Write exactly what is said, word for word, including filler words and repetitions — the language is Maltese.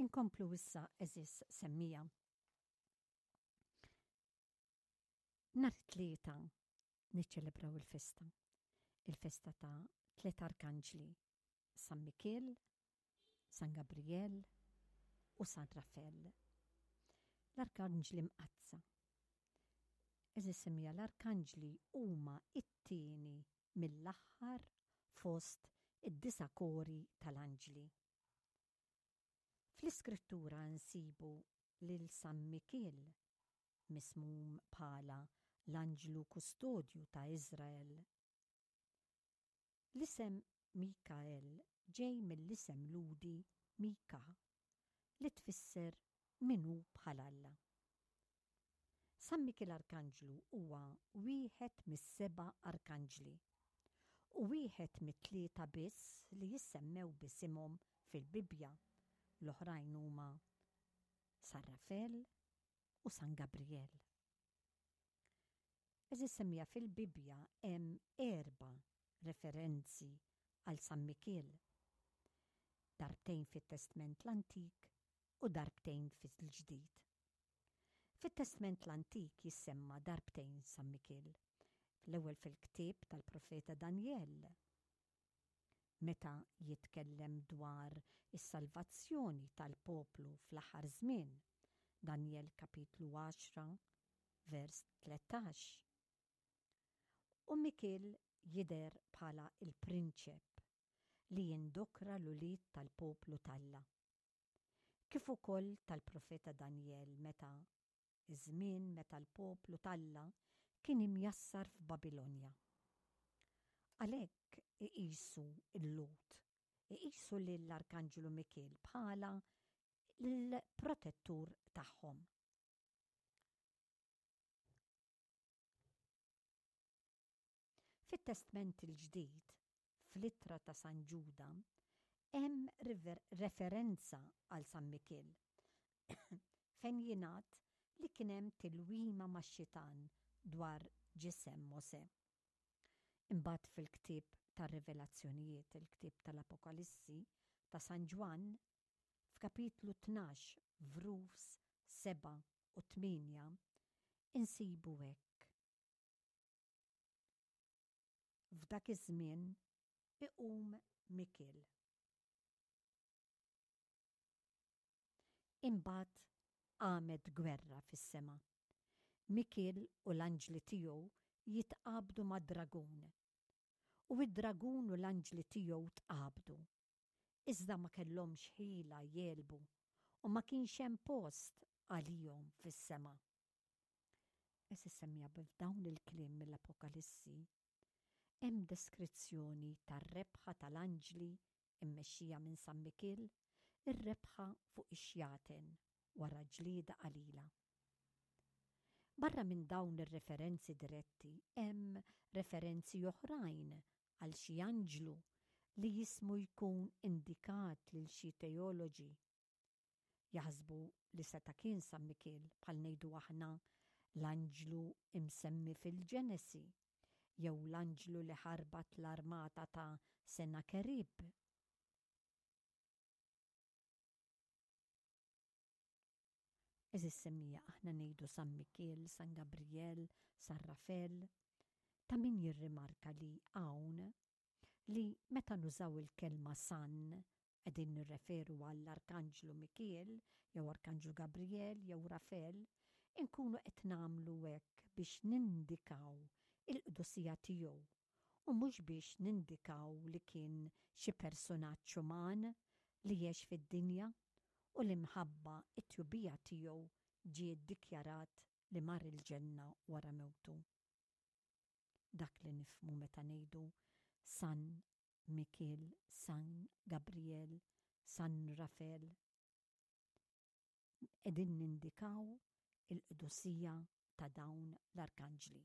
Inkomplu issa għeżież semmiegħa. Nhar it-Tlieta niċċelebraw il-festa. Il-festa ta' tliet arkanġli, San Mikiel, San Gabriel u San Rafel. L-arkanġli mqaddsa. Għeżież semmiegħa l-arkanġli huma it-tieni mill-aħħar fost id-disa' kori tal-anġli. Fl-Iskrittura nsibu lil San Mikiel mismum bħala l-anġlu kustodju ta' Iżrael. L-isem Mikael ġej mill-isem Lhudi Mika li tfisser min hu bħal Alla. San Mikiel Arkanġlu huwa wieħed mis-seba' arkanġli u wieħed mit-tlieta biss li jissemmew b'isimhom fil-Bibbja, l-oħrajn huma San Rafel u San Gabriel. Għeżież semmiegħa fil-Bibbja hemm erba' referenzi għal San Mikiel. Darbtejn fit-Testment l-Antik u darbtejn fil-Ġdid. Fit-Testment l-Antik jissemma darbtejn San Mikiel. L-ewwel fil-ktieb tal-profeta Danjel, meta jitkellem dwar is-salvazzjoni tal-poplu fl-aħħar żmien, Danjel kapitlu għaxra vers tlettax. U Mikiel jidher bħala il-prinċep li jindokra l-ulied tal-poplu t'Alla. Kif ukoll tal-profeta Danjel meta iż-żmien meta l-poplu t'Alla kien imjassar f'Babilonja. Għalhekk iqisu l-Lhud, iqisu lill-Arkanġlu Mikiel bħala l-protettur tagħhom. Fit-Testment il-Ġdid, fl-ittra ta' San Ġuda, hemm referenza għal San Mikiel, fejn jingħad li kien hemm tilwima max-xitan dwar ġisem Mosè. Imbagħad fil-ktieb tar-Rivelazzjonijiet, il-ktieb tal-Apokalissi ta' San Ġwann, f'kapitlu tnax vrus sebgħa u tmienja, insibu hekk. F'dak iż-żmien iqum Mikiel. Imbagħad qamet gwerra fis-sema. Mikiel u l-anġli tiegħu jitqabdu mad-dragun. U d-dragun u l-anġli tiegħu tqabdu. Iżda ma kellhomx ħila jegħlbu u ma kienx hemm post għalihom fis-sema. Għeżież semmiegħa b'dawn il-kliem mill-Apokalissi hemm deskrizzjoni tar-rebħa tal-anġli mmexxija minn San Mikiel, ir-rebħa fuq ix-xjaten wara ġlieda qalila. Barra minn dawn ir-referenzi diretti hemm referenzi oħrajn għal xi anġlu li jismu jkun indikat lil xi teoloġi. Jaħsbu li seta' kien San Mikiel, bħal ngħidu aħna l-anġlu imsemmi fil-Ġenesi jew l-anġlu li ħarbat l-armata ta' Senakerib. Għeżież semmiegħa, aħna ngħidu San Mikiel, San Gabriel, San Rafel. Ta' min jirrimarka li hawn li meta nużaw il-kelma San qegħdin nirreferu għall-Arkanġlu Mikiel jew Arkanġlu Gabriel jew Rafel, inkunu qed nagħmlu hekk biex nindikaw il-qdusija tiegħu u mhux biex nindikaw li kien xi persunaġġ uman li għex fid-dinja u li mħabba t-tjubija tiegħu ġie ddikjarat li mar il-ġenna wara mewtu. Dak li nifhmu meta ngħidu San Mikiel, San Gabriel, San Rafel. Qegħdin nindikaw il-qdusija ta' dawn l-arkanġli.